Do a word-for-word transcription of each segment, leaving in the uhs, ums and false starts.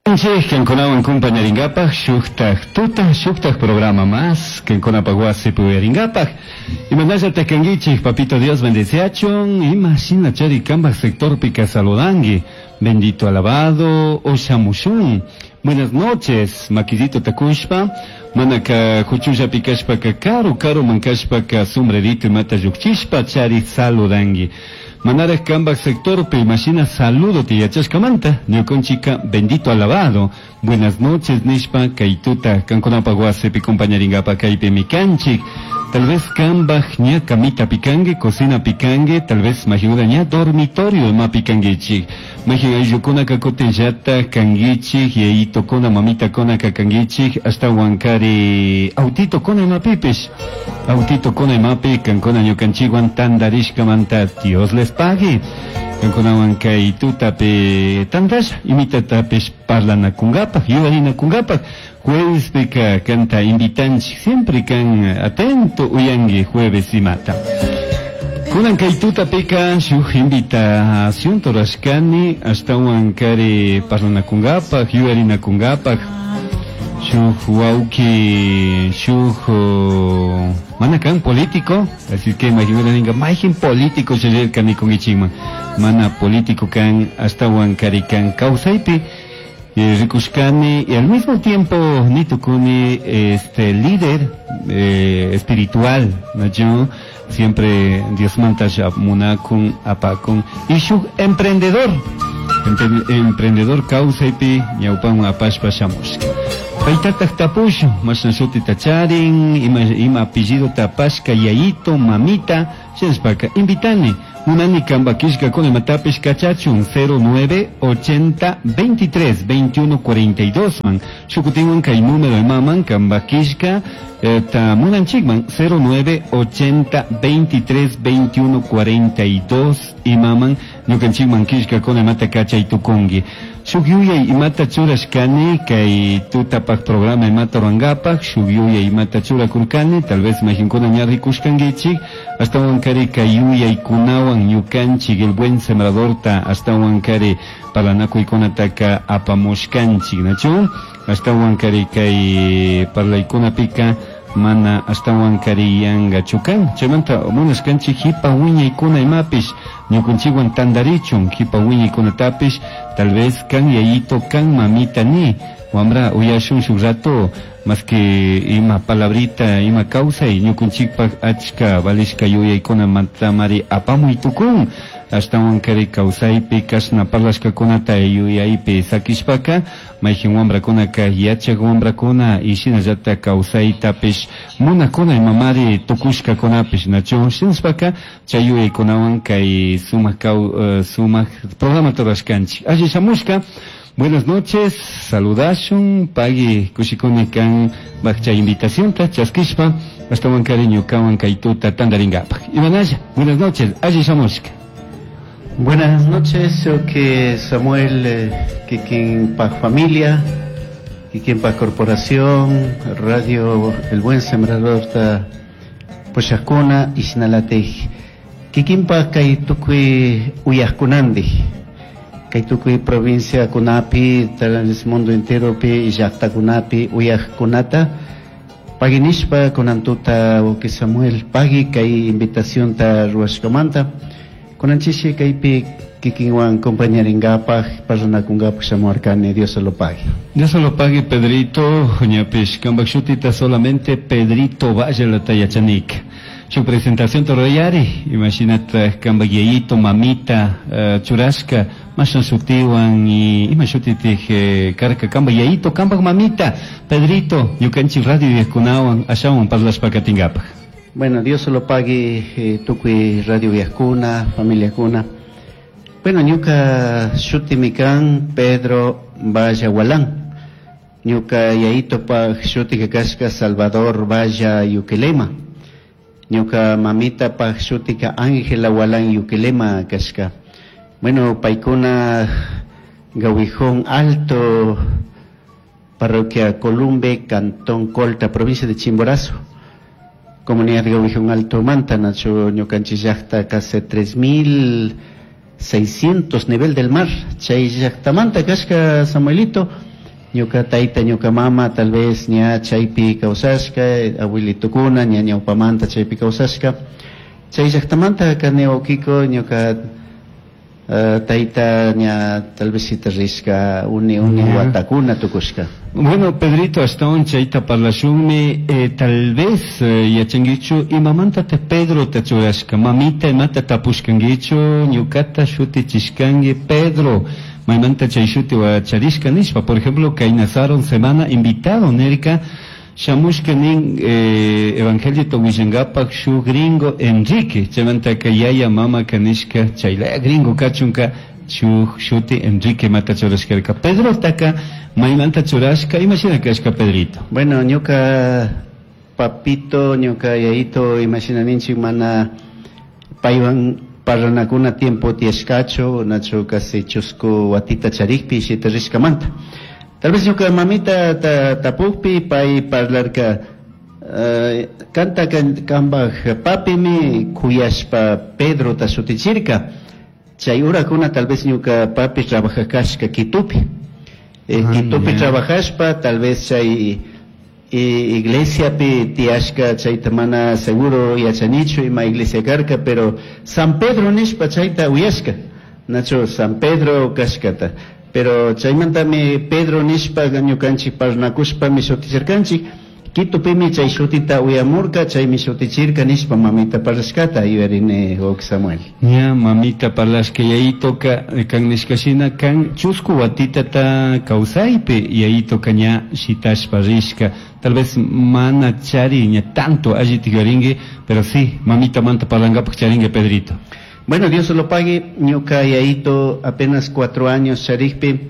Kankunawan kumpañaringapaj shuktak tuta shuktak programa más kankunapaj wasipi uyaringapaj imanallataq kankichik. Papito Dios bendeciachun. Ima shina chari kambaj sectorpika saludangi, bendito, alabado o shamushun, buenas noches, maquillito takushpa manaka huchullapi kashpaka karu karuman kashpaka sombrerito imata llukchishpa chari saludangi. Manaraj kambaj sectorpi imashina saludo yachashkamanta ñukanchika bendito, alabado, buenas noches nishpa kay tuta kankunapaj wasipi compañaringapa kaypimi kanchik. Tal vez kambaj ña camita pikangi, cocina pikangi, tal vez majinuna ña dormitorio ima pikangichik. Majin ayllukunaka kutinllata kangichik, yayitokuna, mamitakuna kangichik, ashtawankari autitokuna imapipish. Autitokuna imapi kankuna ñukanchikwan tandarishkamanta Dios les pague. Kankunawan kay tutapi tantasha imitatapish parlanakunkapaj, yuyarinakunkapaj. Jueves pika kanta invitanchik, siempre kan atento uyangi jueves imata. Kunan kay tutapika shuk invitación rurashkani ashtawankari parlanakunkapaj, yuyarinakunkapaj. Shuk wawki, shuk mana kan político, así que imagínate ninga mayjin político chayarka nikunkichikman. Mana político kan, ashtawankari kan kawsaypi rikushkani y al mismo tiempo nitukuni este líder eh, espiritual, ¿no? Yo siempre Dios manta munakun apakun y shuk emprendedor, emprendedor kawsaypi ñawpaman apashpa shamushka. Paytataq tapushun mashna shutita charin, ima, ima apellido tapashka yayito, mamita, shinashpaka invitani munani kamba killkakuna imatapish kachachun cero nueve ochenta veintitrés veintiuno cuarenta y dos man shukutinwan kay número imaman kamba killka ta munanchikman cero nueve ochenta veintitrés veintiuno cuarenta y dos imaman ñukanchikman killkakuna imata kachay tukunki. Shuk yuyay imata churashkani kay tutapaj programa imata rurankapak, shuk yuyay imata churakurkani, tal vez mayqinkuna ña rikushkankichik, ashtawankari kay yuyaykunawan ñukanchik El Buen Sembradorta ashtawankari parlanakuykunataka apamushkanchik, nachu? Ashtawankari kay parlaykunapika mana ashtawankari yankachu kan. Chaymanta munashkanchik hipa wiñaykuna imapish ñukanchikwan tantarichun, hipa wiñaykunatapish tal vez kan yayito, kan mamita ni wambra uyashun shuk rato más que ima palabrita ima kawsay ñukanchikpak achka valishka yuyaykuna mantamari apamuy tukun. Ashtawankari kawsaypi kashna parlashkakunata yuyaypi sakishpaka mayjin wambrakunaka yachak wambrakuna y shinallata kawsaytapish munakuna imamari tukushkakunapish, nachu? Shinashpaka chay yuyaykunawan kay sumak kaw uh, sumak programa rurashkanchik. Alli shamushka. Buenas noches, saludashun, pagui kushikuni kan bakcha invitación ta chaskishpa, ashtawankari ñukawan kay tuta tantarinkapak. Imanalla, buenas noches, alli shamushka. Buenas noches, que Samuel, eh, kikinpaj familia, kikinpaj corporación, Radio El Buen Sembrador ta pushakuna, shinallataj kikinpaj kay tukuy uyajkunandij, kay tukuy provincia kunapi, tal mundo entero pi, llaqtakunapi uyajkunata, pagui nishpa kunan tuta que Samuel pagui kay invitación ta ruwashkamanta. Kunan chishi kaypi kikinwan compañaringapaj parlanakunkapaj shamuarkani. Dios se lo pague. Dios se lo pague, Pedrito. Ñapish kambaj shutita solamente Pedrito Valle yachanik. Su presentación toroyari, imagínate kambaj yayito, mamita, uh, churashka, mashan shutiwan y ima shutitij eh, karka kambaj yayito, kambaj mamita, Pedrito, ñukanchik radio uyajkunawan ashawan parlashpa katingapaj. Bueno, Dios se lo pague eh, tukuy radio uyajkuna, familia kuna. Bueno, ñuka shutimi kan Pedro Valla Gualán. Ñuka yayito paj shuti kashka Salvador Valla Yuquilema. Ñuka mamita paj shutika Ángela Gualán Yuquilema kashka. Bueno, paykuna Gawijón Alto, parroquia Columbe, Cantón Colta, provincia de Chimborazo. Comunidad de Gawijón Alto manta, nachu ñukanchik llaqta casi tres mil seiscientos nivel del mar. Chay llaqtamanta kashka Samuelito. Ñuka tayta, ñuka mama tal vez ña chaypi kawsashka, abuelitukuna ña ñawpamanta chaypi kawsashka. Chay llaqtamanta kani wawkiko, ñuka uh, tayta ña tal vez rishka uni uni Ya. watakuna tukushka. Bueno, Pedrito, ashtawan chayta parlashunmi, eh, tal vez eh, yachanguichu imamanta te Pedro ta churashka, mamita imata tapushkanguichu, ñukata shutichishkangi Pedro, maymanta chay shuti wacharishka nishpa, por ejemplo, kay saron semana invitado nirka, shamushka nin eh, evangelio willangapak shu gringo Enrique, chaymantaka yaya mama kanishka chaylaya gringo kachunka shuk shuti Enrique mata churashkarka. Pedro taka maymanta churashka, imashina kashka Pedrito. Bueno, ñuka papito, ñuka yayito, imashina ninchik mana paywan parlanakuna tiempo tiyashkachu, nachu casi chusku watita charikpi shita rishkamanta. Tal vez ñuka mamita ta, tapukpi pay parlarka uh, kanta kan, kambaj papimi kuyashpa Pedro ta shutichirka. Chay urakuna tal vez ñuka papi trabajakashka Quitupi. Eh, Ah, Quitupi ya. trabajashpa tal vez chay i- iglesiapi tiyashka chayta mana seguro yachanichu ima iglesia karka, pero San Pedro nishpa chayta uyashka, nachu San Pedro kashkata. Pero chaymantami Pedro nishpa ñukanchik parlanakushpami shutichirkanchik. Quitupimi chay shutita uyamurka, chaymi shutichirka nishpa mamita parlashkata yuyarini wawki Samuel. Ña mamita parlashka yayitoka kan nishka shina kan chusku watita ta kawsaypi yayitoka ña shitashpa rishka, tal vez mana chari ña tanto alli yuyarinki, pero sí, mamita manta parlangapak charinki Pedrito. Bueno, Dios se lo pague, ñuka yayito apenas cuatro años charikpi,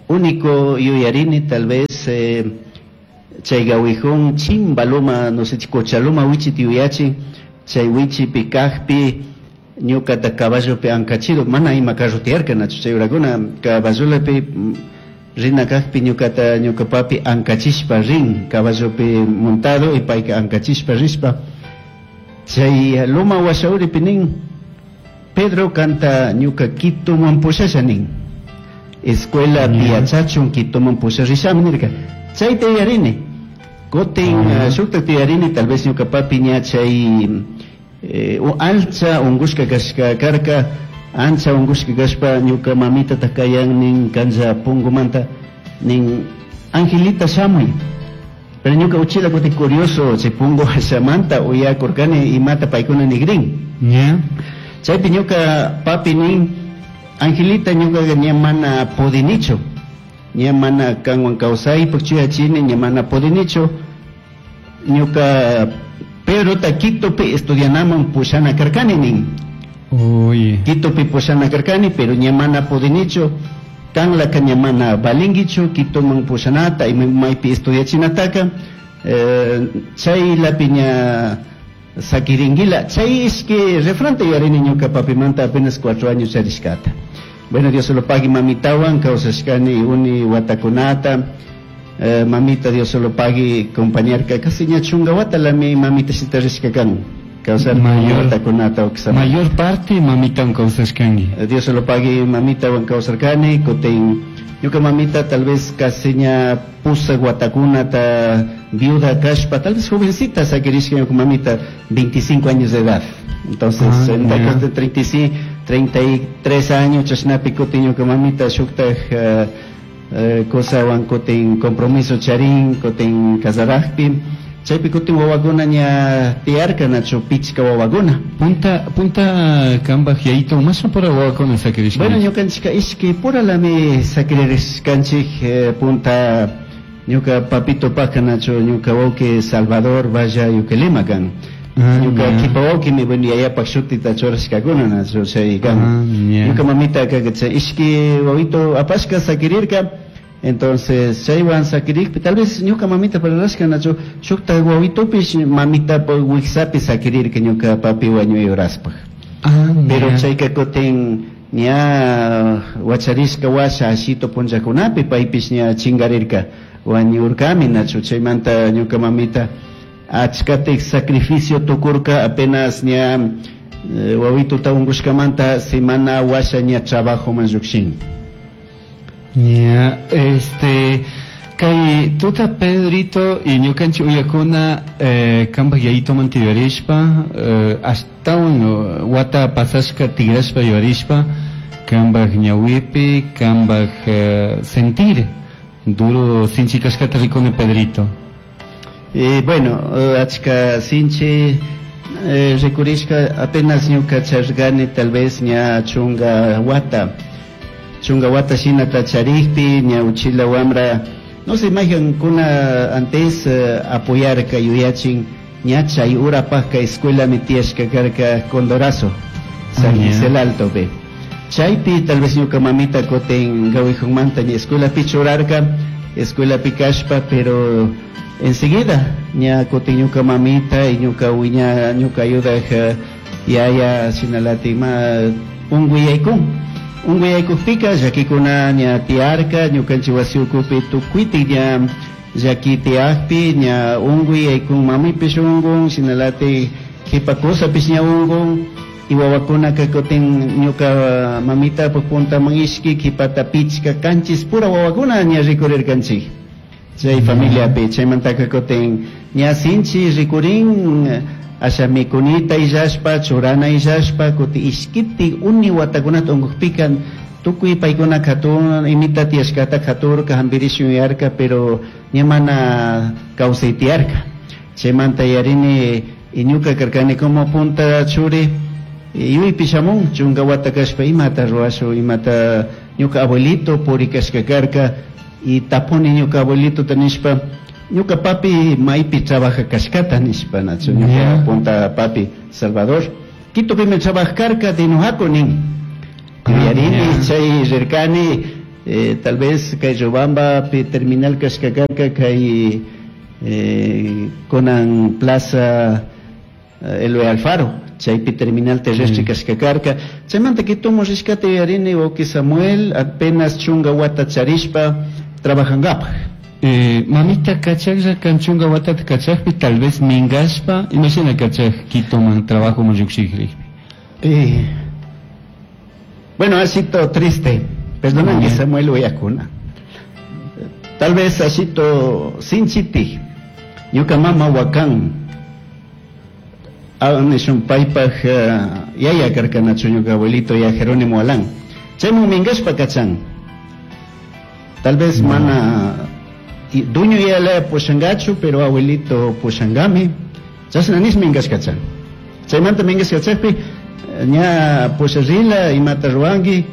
único yuyarini tal vez eh, chay gawijón chimbaloma, no sé, cochaloma wichi tiyuyachi, chay wichi pikajpi, ñuka ta caballopi ankachido, mana ima carro tiyarka nachu chay urakuna, caballolapi mm, rina kajpi ñukata ñuka papi ankachishpa rin, caballopi montado y payka ankachishpa rishpa. Chay loma washauripi nin, Pedro kanta ñuka Quitoman pushasha nin. Escuela Ya. piyachachun Quitoman pusharishami nirka. Chayta yuyarini. Kutin Ah. uh, shukta yuyarini tal vez ñuka papi ña chay eh, u- ancha ungushka kashka karka, ancha ungushka kashpa ñuka mamita takayan nin kancha pungumanta nin Angelita shamuy. Pero ñuka uchila kutin curioso chay pungu washamanta uyakurkani imata paykuna nigrin. Ña. Chaypi ñuka papi nin Angelita ñukaqa ña mana pudinichu, ña mana kanwan kawsaypaq chuyachini ña mana pudinichu, ñuka Pedrota Quitopi estudianaman pushana karkani nin. Uy. Quitopi pushana karkani, pero ña mana pudinichu, kanlaka ña mana valinguichu Quitoman pushanata y maypi estudiachinataka, eh, chaylapi ña sakiringuila, chay ishki refrante yuyarini ñuka papimanta apenas cuatro años charishkata. Bueno, Dios se lo pague mamitawan, kawsashkani uni watakunata, eh, mamita Dios se lo pague compañarka, casi ña chunga wata la mi mamita shita rishka kan, kawsar Mayor- watakunata oksama. Mayor parte mamitawan kawsashkanki. Eh, Dios se lo pague mamitawan kawsarkani, kutin ñuka mamita tal vez casi ña pusa watakunata viuda kashpa, tal vez jovencita sakirishka ñuka mamita, veinticinco años de edad. Entonces, Ah, en ya. de treinta y cinco, treinta y tres años, chashnapi kutin ñuka mamita shuktaj, eh, eh, kosawan kutin compromiso charin, kutin casarajpi, chaypi kutin wawakuna ña tiyarka nachu pichka wawakuna. Punta punta kambaj yayito mashna pura wawakuna sakirishka. Bueno, ñukanchika ishki puralami sakiririshkanchik, eh, punta ñuka papito paja nachu ñuka wawki Salvador Valla Yuquilima kan. Ah, Ñuka ya. kipa wawkimi, bueno, yayapak shutita churashkakuna nachu chay kan. Ah, ya. Ñuka mamita kaka chay ishki wawito apashka sakirirka. Entonces, chaywan sakirikpi, tal vez ñuka mamita parlarashka nachu shukta wawitopish mamita wiksapi sakirirka ñuka papi wañuy uraspaj. Ah, Pero ya. chayka kutin ña wacharishka washa ashito punllakunapi paypish ña chingarirka wañurkami nachu chaymanta ñuka mamita achkatik sacrificio tukurka apenas ña, eh, wawituta ungushkamanta semana washa ña trabajoman llukshin. Ya, este, Kay tuta Pedrito y ñukanchik uyakuna eh, kambaj yayituman tiyarishpa eh, ashtawan wata pasashka tigrashpa yuyarishpa kambaj ñawipi kambaj eh, sentir duro sinchi kashkata rikuni Pedrito. Eh, bueno, uh, achka sinchi eh, rikurishka apenas ñuka chargani tal vez ña chunga wata chunga wata shinata charikpi ña uchila wamra no se kuna antes uh, apoyarka yuyachin ña chay urapajka escuela tiyashka karka Condorazo San Ah, Luis el Alto be chaypi tal vez ñuka mamita kutin Gawijunmanta ña escuela churarka escuela kashpa pero enseguida ña kutin ñuka mamita y ñuka wiña ñuka ayudaj yaya shinalatik ma unguyaykun unguyaykukpika llakikuna ña tiyarka ñukanchik wasi ukupi tukuytik ña llaki tiyakpi ña unguyaykun mamipish ungun shinalatik kipa kusapish ña ungun y wawakunaka kutin ñuka mamita puntaman ishki kipata pichka kanchis pura wawakuna ña rikurirkanchik chay familiapi chaymantaka kutin ña sinchi rikurin asha mikunita illashpa churana illashpa kutin ishkiti uni watakunata unkukpika tukuy paykuna katun imita tiyashkata katurka hampirish yuyarka pero ña mana kawsay tiyarka chaymanta yarini y ñuka karkani como punta churi yuypi shamun chunka wata kashpa imata ruwashun imata ñuka abuelito purikashka karka y tapuni ñuka abuelito nishpa ñuka papi maypi trabaja kashkata nishpa nachu ñuka Yeah. punta papi Salvador Quitopimi trabaja karka dinujaku nin Ah, yuyarini yeah. chay rirkani eh, tal vez kay Riobamba pi terminal kashka karka kay eh, kunan plaza eh, Eloy Alfaro chaypi terminal terrestre Mm. kashka karka chaymanta Quitoman rishkata yuyarini wawki Samuel apenas chunga wata charishpa trabajankapaj Eh, mamita kachaklla kan chunga watata kachakpi tal vez mingashpa imashina kachak Quitoman trabajoman llukshikrikpi. Eh, bueno, ha sido triste. Perdona que Mm. Samuel uyakuna. Tal vez ha sido sinchiti. Ñuka mama wakan. Nishun paypaj yaya karkanachu ñuka abuelito ya Jerónimo Alán. Chayman mingashpa kachan. Tal vez Mm. mana y dueño yala pushangachu, pero abuelito pushangami. Chashna nish mingashkachan. Chaymanta mingashkachakpi ña pusharila imata ruwanki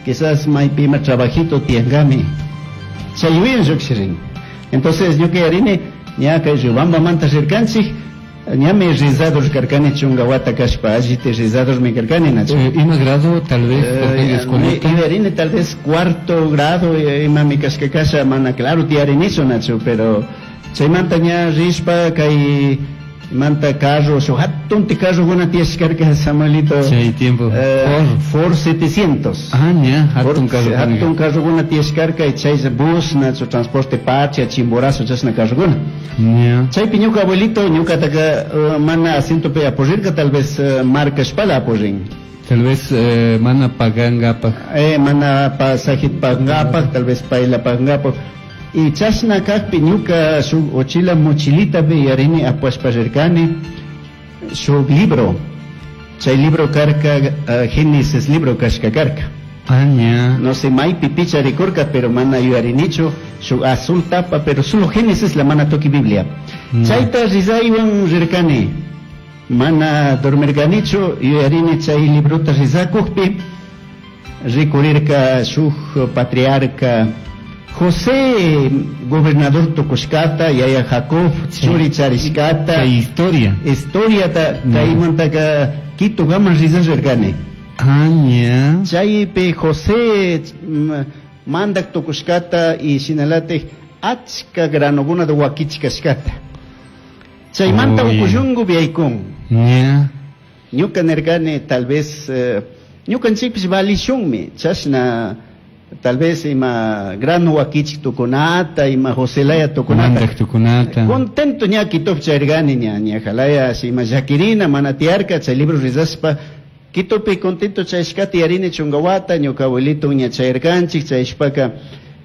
quizás maypi ima trabajito tiyangami chay yuyan llukshirin entonces ñuka yarini ña kay Riobambamanta rirkanchik ñami rizador karkani chunga wata kashpa alliti rizadormi karkani nachu Eh, ima grado tal vez Eh, escuelita? yuyarini tal vez cuarto grado eh, imami kashka kasha mana claro tiyarinichu nachu pero chaymanta ña rishpa kay manta carro shuk hatunti carro tiyashkarka Samuelito. Chay tiempo. Eh, Ford. Ford setecientos. Ah, ña, hatun carro. Hatun carrokuna tiyashkarka y chay bus nachu transporte Patria Chimborazo chashna carrokuna. Ña. Chaypi ñuka abuelito ñukataka uh, mana asientopi aporrirka tal vez uh, markashpala aporrin. Tal vez eh, mana pagangapaj. Eh, mana pasajit pagangapaj, tal vez payla pagangapaj. Y chashna kakpi ñuka shuk uchila mochilitapi yarini apuashpa rirkani shuk libro. Chay libro karka uh, Génesis libro kashka karka. Ah, ña. No sé maypi picha rikurka, pero mana yuyarinichu shuk azul tapa, pero solo Génesis la mana toki Biblia. Mm. Chayta rizaywan rirkani. Mana dormirkanichu yuyarini chay librota rizakukpi rikurirka shuk patriarca José gobernador tukushkata yaya Jacob churi charishkata Chay historia. historiata Mm. kaymantaka Quitokaman rizashirkani. Ah, ña. Chaypi José mm, mandak tukushkata y shinalatik achka granokunata wakichkashkata. Chaymanta Oye. ukushunku viaykun. Ña. Ñuka nirkani tal vez eh, ñukanchikpish valishunmi chashna tal vez ima grano wakichik tukunata ima Joselaya tukunata Mandak tukunata. contento ña Quitopi chayrgani ña ña jalaya ima llakirina mana tiyarka chay libro rizashpa Quitopi contento chayashkata yarini chunga wata ñuka abuelito ña chayarkanchik chayashpaka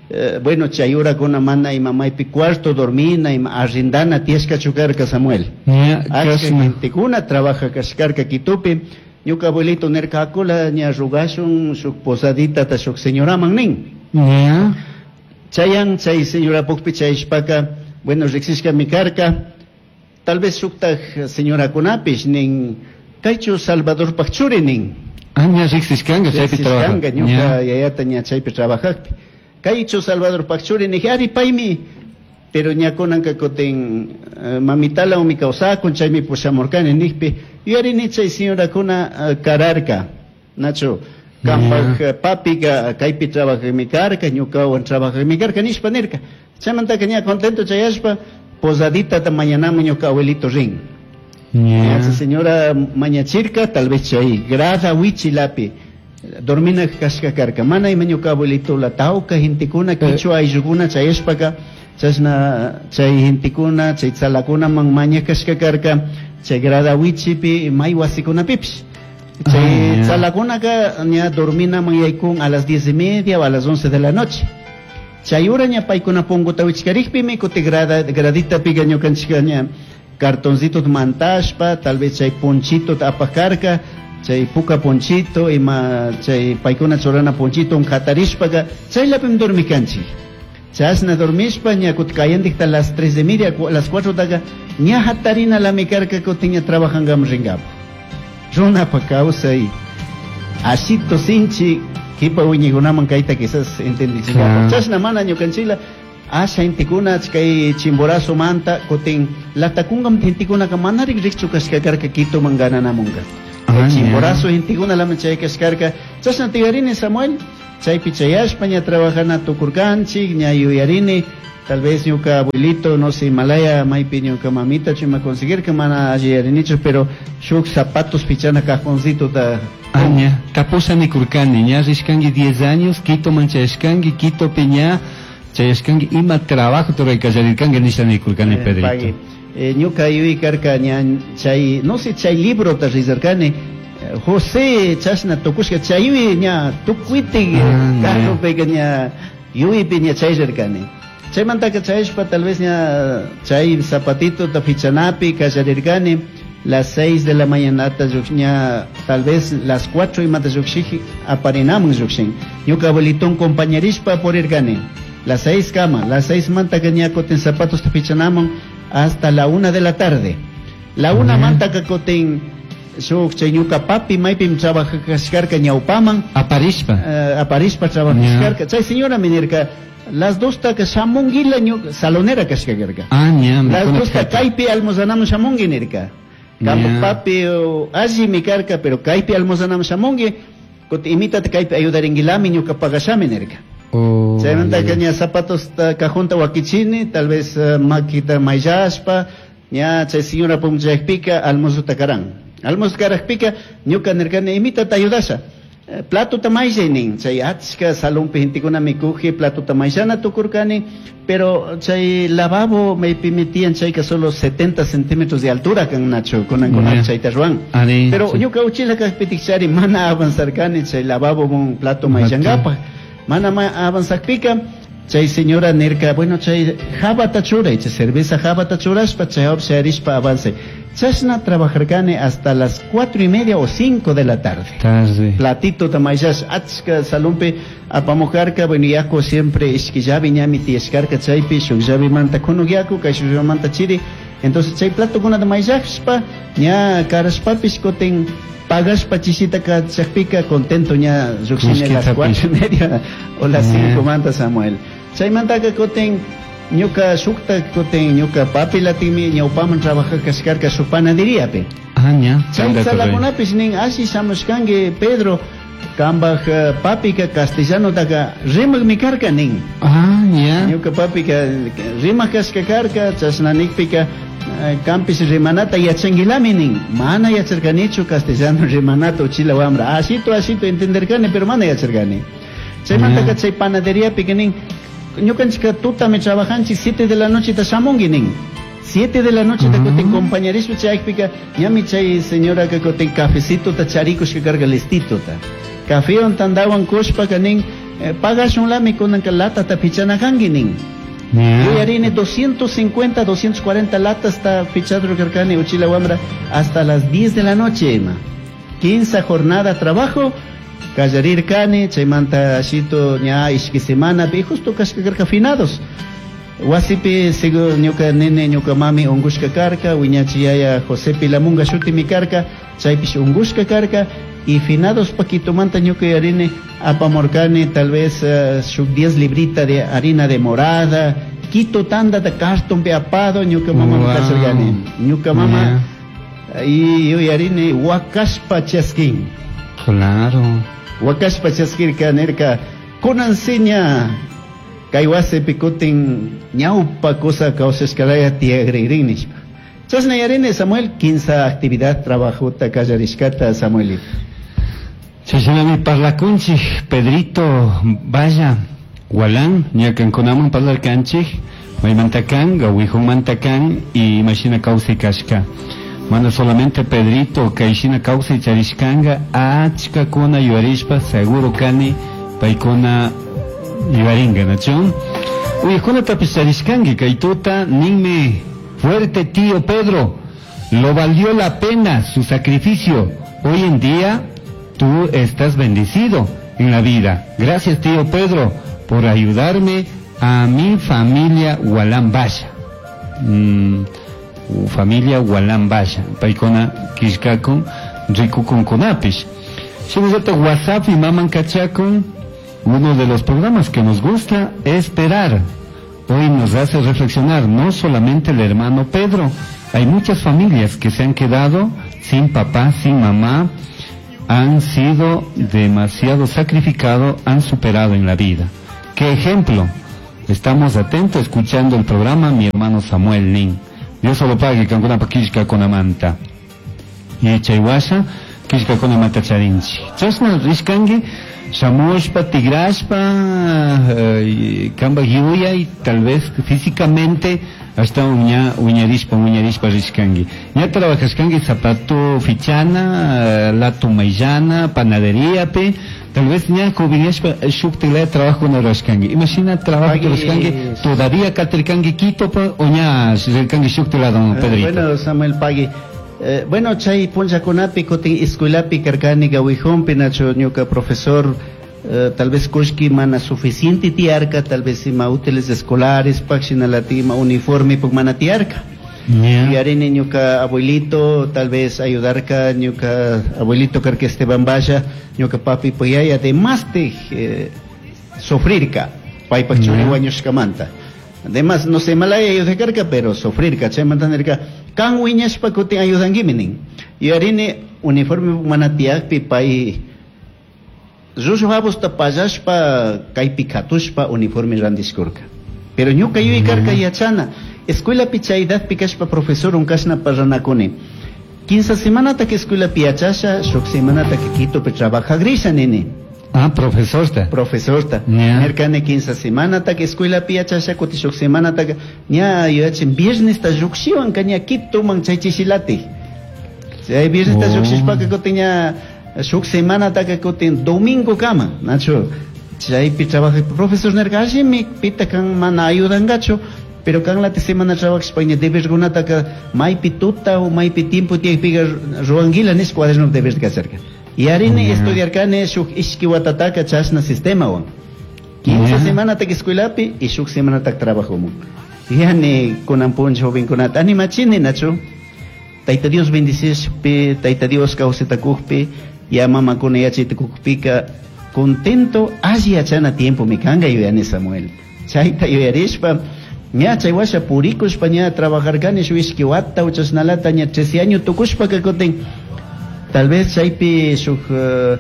Eh, bueno, chay horakuna mana ima maypi cuarto dormina, ima arrendana tiyashkachu karka Samuel. Ña, Achka chashna. gentekuna trabaja kashkarka Quitopi. Ñuka abuelito nirka akula ña rugashun shuk posadita ta shuk señoraman nin. Ña. Chayan chay señora pukpi chayashpaka, bueno, riksishkami karka. Tal vez shuktaj señorakunapish nin, kaychu Salvadorpaj churi nin. Ah, ña riksishkanka chaypi trabaja. Riksishkanka ñuka yayata ña chaypi trabajajpi. Kaychu Salvadorpaj churi nin, ari paymi. Pero ña kunanka kutin, eh, mamitala umi kawsakun chaymi pushamurkani nijpi, yuyarini chay señorakuna, eh, kararka. Nacho, kampaj, Ya. eh, papika kaypi trabajajmi karka, ñukawan trabajajmi karka nishpa nirka. Chaymantaka ña contento chayashpa, posadita ta mañanaman ñuka abuelito rin. Ya. Esa señora mañachirka, tal vez chay grada wichilapi dormina kashka karka. Mana ima ñuka abuelito la tauka gentekuna, kichwa ayllukuna chayashpaka, chashna chay gentekuna, chay tzalakunaman maña kashka karka, chay grada wichipi may wasikunapipish. Chay Ah, ya. tzalakunaka ña dorminaman yaykun a las diez y media o a las once de la noche. Chay hora ña paykuna punguta wichkarikpimi kuti grada, gradita piga ñukanchika ña cartoncito mantashpa, tal vez chay ponchito apakarka, chay puka ponchito, ima chay paykuna churana ponchito unkatarishpaka, chaylapim dormikanchik. Chashna dormishpa ña kuti kayantikta las tres y media, cu-, las cuatro taka, ña hatarina lamikarka kuti ña trabajangam ringapa. Runapa kawsay, ashito sinchi, kipa wiñaykunaman kayta quizás entendichingapa. Claro. Chashna mana ñukanchila, asha intikuna kay Chimborazo manta kutin latakunkam intikunaka manarik rikchu kashkakarka Quitoman gananamunka. Ah, Chimborazo ya. intikuna laman chay kashkarka. Chashna tiyarini Samuel, chaypi chayashpa ña trabajana tukurkanchik, ña yuyarini, tal vez ñuka abuelito, no sé, Himalaya, maypi ñuka mamita chima conseguirka, mana alli yarinichu, pero shuk zapatos pichana cajoncito ta. Ah, ña, tapusa nikurkani, ña rishkanki diez años, Quitoman chayashkanki, Quitopi ña chayashkanki, ima trabajo ruraykallarirkanki nisha nikurkani, Eh, Pedrito. pagui. Eh, ñuka yuykarka ña chay, no sé, chay libro ta rizarkani, eh, José chashna tukushka chayui ña tukuiti Ah, ña. carropika ña yuypi ña chayrirkani. Chaymantaka chayashpa tal vez ña chay zapatito ta fichanapi kallarirkani las seis de la mañana ta ña tal vez las cuatro y mata lluqshiji aparinamun lluqshin. Ñuka abuelitón compañerishpa purirkani. Las seis cama, las seis manta que ña kutin zapatos ta fichanamun hasta la una de la tarde. La una Ya. manta que kutin shuk chay ñuka papi maypim trabajashkarka ñawpaman. Aparishpa. Eh, aparishpa trabajashkarka. Chay señora mi nirka, las dos taka shamunguila ñuka salonera kashkakarka. Ah, ña, Las mikuna dos ta kashka. kaypi almorzanamun shamungi nirka. Kampa Ya. papi, oh, alli mi karka, pero kaypi almorzanamun shamungi, kuti imitata kaypi ayudaringuilami ñuka pagashami nirka. Oh, Chaymantaka ya. ña zapatos ta cajonta wakichini, tal vez, eh, maquita mayashpa, ña chay señora pumchaypika almuerzo karan. Almuerzo karajpika ñuka nirkani imitata ayudasha. Eh, plato tamayllay nin, chay achka salonpi gentekuna mikuji plato tamayllana tukurkani, pero chay lavabo maypimi tiyan chayka solo setenta centímetros de altura kan Nacho, kunan kunan Ya. chayta ruwan. Ari, Pero sí. ñuka uchila kajpitik chari mana avanzarkani chay lavabo mon plato mayllangapaj. Mana ma avanzakpika, chay señora nirka, bueno, chay jabata churay, chay cerveza jabata churashpa, chay hop sharishpa avance. Chashna trabajarkani hasta las cuatro y media o cinco de la tarde. Tarde. Platito tamayash achka salumpi apamujarka, bueno, yaku siempre ishkillavi ñami tiyashkarka chaypi, shukllavi manta kunuk yaku, kay shukllavi manta chiri. Entonces chay plato kuna tamayashpa, ña karashpapish kutin pagashpa chishita kachakpika contento ña lluqshini las Mosquita cuatro y pish. media o las Ya. cinco manta Samuel. Chaymantaka kutin ñuka shukta kutin ñuka papi latimi ñawpaman trabajar kashkarka su panaderiapi. Ah, ña. Chay Anda, tzalakunapish nin ashi shamushkanki Pedro, kambaj, eh, papika castellano taka rimakmi karka nin. Ah, ña. Ñuka papika rimak kashka karka, chashna nikpika, eh, kampish rimanata yachanguilami nin. Mana yacharkanichu castellano rimanata uchila wamra. Ashito, ashito entenderkani, pero mana yacharkani. Chaymantaka Ya. chay panaderiapi nin, ñukanchika tutami trabajanchik siete de la noche ta shamungi nin. Siete de la noche ta Ah. kutin compañerismo chaypika, ñami chay señora ka kutin cafecito ta charikushka karka listito ta. Cafewan tandawan kushpaka nin, Eh, pagashunlami kunanka latata pichanakanki nin. Yeah. Yuyarini doscientos cincuenta, doscientos cuarenta latas ta fichado karkani uchila wamra hasta las diez de la noche ima. Quince jornada trabajo, kallarirkani, chaymanta ashito ña ishki semana pi justo kashka karka finados. Wasipi sigo ñuka nene ñuka mami ungushka karka, wiñachi yaya José Pilamunga shutimi karka, chaypish ungushka karka, y finados paquito manta ñuka yarini apamorkani tal vez, eh, shuk diez librita de harina de morada, quito tanda de cartón pe apado ñuka mama Wow. kachargani. Ñuka mama, Yeah. y yo yarini wakashpa chaskin. Claro. Wakashpa chaskirka nerka kunansiña kay wasipi kutin ñawpa cosa kawsashkalaya tiagririn nishpa. Chasna yarini Samuel quince actividad trabajota kallarishkata Samuel. Chashnami parlakunchik Pedrito Vaya Gualán ñakankunaman parlarkanchik maymantakan gawijunmantakan y imashina kawsay kashka. Mana solamente Pedrito kayshina kawsay charishkanga achkakuna yuyarishpa seguro kani paykuna yuyaringa nachu. Uyajkunatapish charishkanki kay tuta ninmi fuerte tío Pedro, lo valió la pena su sacrificio. Hoy en día tú estás bendecido en la vida. Gracias tío Pedro por ayudarme a mi familia Gualán Vaya. Mm, familia Gualán Vaya. Paikona kishkakun rikukun kunapish. Shinallata WhatsApp y maman kachakun. Uno de los programas que nos gusta esperar. Hoy nos hace reflexionar no solamente el hermano Pedro. Hay muchas familias que se han quedado sin papá, sin mamá, han sido demasiado sacrificados, han superado en la vida. ¡Qué ejemplo! Estamos atentos escuchando el programa, mi hermano Samuel Nin. Dios solo pague con una paquishka con amanta. Y chayhuasha, kishka con amanta charinchi. Chasna rishkangi, shamushpa, tigrashpa, eh, kamba yuya y tal vez físicamente hasta uña, uñarishpa, uñarishpa rishkangi. Ya trabajashkangi zapato fichana, eh, lato maillana, panadería pe, tal vez ña jovenashpa shuktilaya trabajo no rashkangi. Imagina trabajo Pagui. rashkangi, todavía katirkangi Quito pa, o ña rishkangi shuktila don Eh, Pedrito. bueno, Samuel Pagui. Eh, bueno, chay punchakunapi kutin escuelapi karkani gawijunpi nacho ñuka profesor, eh, tal vez kushki mana suficiente tiarca, tal vez ima útiles escolares, paxinalati ima uniforme puk mana tiarca. Yeah. Y arini ñuka abuelito, tal vez ayudarca ñuka abuelito karka Esteban Valla, ñuka papi puyay, además de, eh, sufrirca, paypak churi Yeah. wañushkamanta. Además, no sé, malaya ayudarca, pero sufrirca, chay mantenerca, kan wiñashpa kutin ayudanguimi nin. Y arini uniforme mana tiakpi pay rushu habusta pallashpa kaypi katushpa uniforme randishkurka. Pero ñuka yuyaykarka Mm. yachana, escuelapi chay edadpi kashpa profesor unkashna parranakuni. Quince semanata que escuelapi yachasha, shuk semanata que Quitopi trabajagrisha nini. Ah, profesorta. Profesorta. Ya. Nirkani quince semanata que escuelapi yachasha, kuti shuk semanata que ña yuyachin viernes ta llukshiwan ka ña Quitoman chay chishilati. Chay viernes ta Oh. llukshispaka kuti ña shuk semanata que kutin domingo kama, nacho. Chaypi trabaja profesor nirka, allimi pita kan mana ayudangachu, pero kan lati semana trabajashpa ña debergunata ka maypi tuta o maypi tiempo tiyakpiga ruwanguila nish cuaderno deber kacharka. Y arini Ya. estudiarkani shuk ishki watataka chashna sistemawan. Quince Ya. semanata escuelapi y shuk semanata trabajomun. Yani kunan puncha jovenkunata animachini nacho. Tayta Dios bendicishpi, Tayta Dios kawsaytakukpi, ya mamakuna yachaytakukpika, contento alli yachana tiempo mi kanga yuyani Samuel. Chayta yuyarishpa, ña chay washa purikushpa ña trabajarkani shuk ishki wata uchashnalata ña trece año tukushpa kakutin. Tal vez chaypi shuk, eh,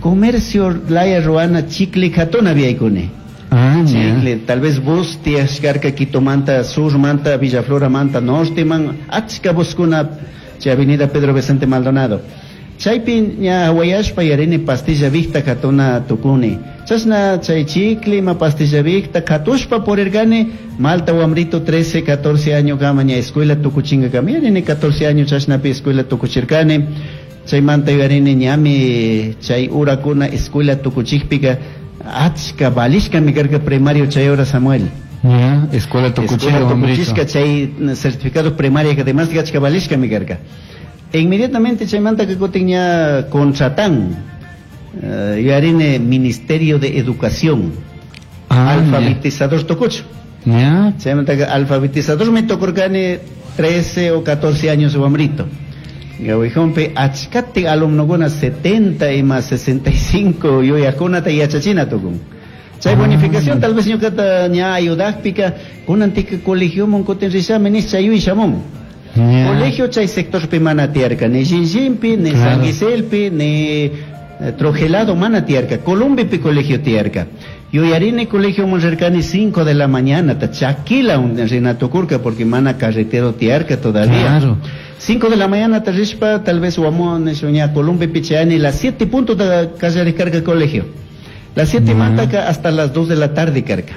comercio laya ruana chicle katuna viaykuni. Ah, ya. Chicle, tal vez bus tiyashkarka Quito manta, sur manta, Villaflora manta, norte man, achka buskuna chay avenida Pedro Vicente Maldonado. Chaypi ña wayashpa yarini pastilla victa katuna tukuni. Chashna chay chicle ma pastilla victa katushpa purirkani malta wamrito trece, catorce año kama ña escuela tukuchinga kama. Yarini catorce año chashnapi escuela tukuchirkani. Chaymanta yuyarini ñami chay urakuna escuela tukuchikpika, Achka valishkami karka primario chay hora, Samuel. Ya, escuela tukuchishka. Escuela tukuchishka chay certificado primaria que además achka valishkami karka. Inmediatamente chaymanta que kutin ña contratan uh, yuyarini Ministerio de Educación. Ah, Alfabetizador tukuchu. Ya. Chaymanta alfabetizador me tukurkani trece o catorce años wambrito. Gawijompe achkati alumnokuna setenta y más sesenta y cinco yuyajkunata yachachina tukun. Chay bonificación tal vez ñuqata ña ayudajpika kunantika colegioman kutin rishami nish chay yuy shamun. Ya. Colegio chay sectorpi mana tiyarka, ni Shinshimpi, ni Claro. San Giselpi, ni eh, Trojelado mana tiyarka, Columbipi colegio tiyarka. Yuyarini colegio rirkani cinco de la mañana, ta chakila un rina tukurka porque mana carretero tiyarka todavía. Claro. cinco de la mañana ta rishpa, tal vez wamon ña Columbipi chayani las siete punto ta karka colegio. Las siete Ya. mantaka hasta las dos de la tarde karka.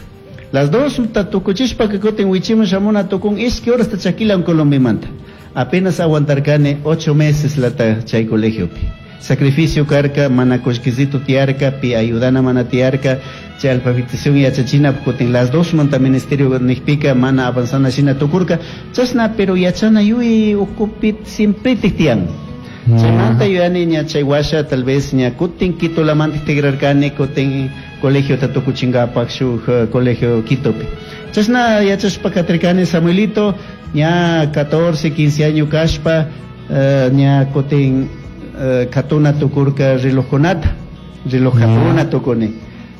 Las dos ta tukuchishpa que kutin wichiman shamuna tukun ishki horas ta chakila un Colombimanta. Apenas aguantarkani ocho meses la ta chay colegiopi. Sacrificio karka, mana kullkisito tiarka, pi ayudana mana tiarka, chay alfabetización yachachina kutin las dos manta ministerio nikpika mana avanzana shina tukurka, chasna pero yachana yui ukupi siempre tian. Chaymanta yuyani ña chay washa tal vez ña kutin Quitolamanta tigrarkani kutin colegio ta tukuchinkapak shuk eh, colegio Quitopi. Chasna yachashpa katirkani, Samuelito, ña catorce, quince años kashpa eh, ña kutin eh, katuna tukurka relojkunata, reloj katuna tukuni.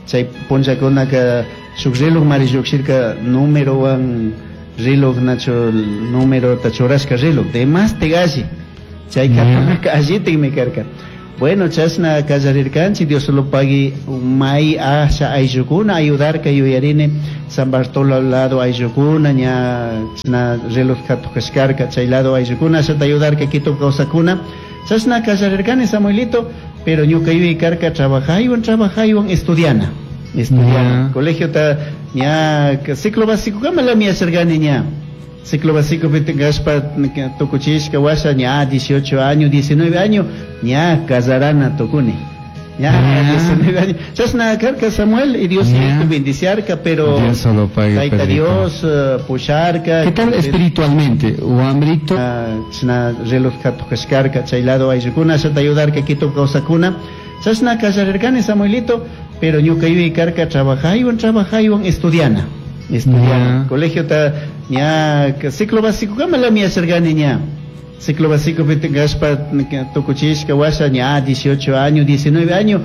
Chay punllakunaka shuk reloj mari llukshirka numerowan reloj nacho número ta churashka reloj demas alli. Chay katunaka allitikmi karka. Bueno, chasna kallarirkanchik, Dios lo pague, may asha ayllukuna ayudarka yuyarini San Bartolo lado ayllukuna ña chasna reloj katukashkarka chay lado ayllukuna ashata ayudarka Quito kawsakuna. Chasna kallarirkani, Samuelito, pero ñuka yuyay karka trabajaywan trabajaywan estudiana. Estudiana. Ya. Colegio ta ña ciclo básico kama la yacharkani ña. Ciclo básico kashpa tukuchishka washa ña dieciocho años, diecinueve años, ña casarana tukuni. Ña Ya. diecinueve años. Chasna karka, Samuel, y Dios Ya. bendiciarka, pero Dios solo pague, Taita Pedrito. Dios eh, pusharka. ¿Qué tal espiritualmente? Wambrito. Ah, chasna reloj katukashkarka chay lado ayllukuna ashata ayudarka Quito kawsakuna. Chasna kallarirkani, Samuelito, pero ñuka yuyay karka trabajaywan trabajaywan estudiana. Estudiana. Ya. Colegio ta ña ciclo básico kama la yacharkani ña. Ciclo básico kashpa tukuchishka washa ña dieciocho años, diecinueve años.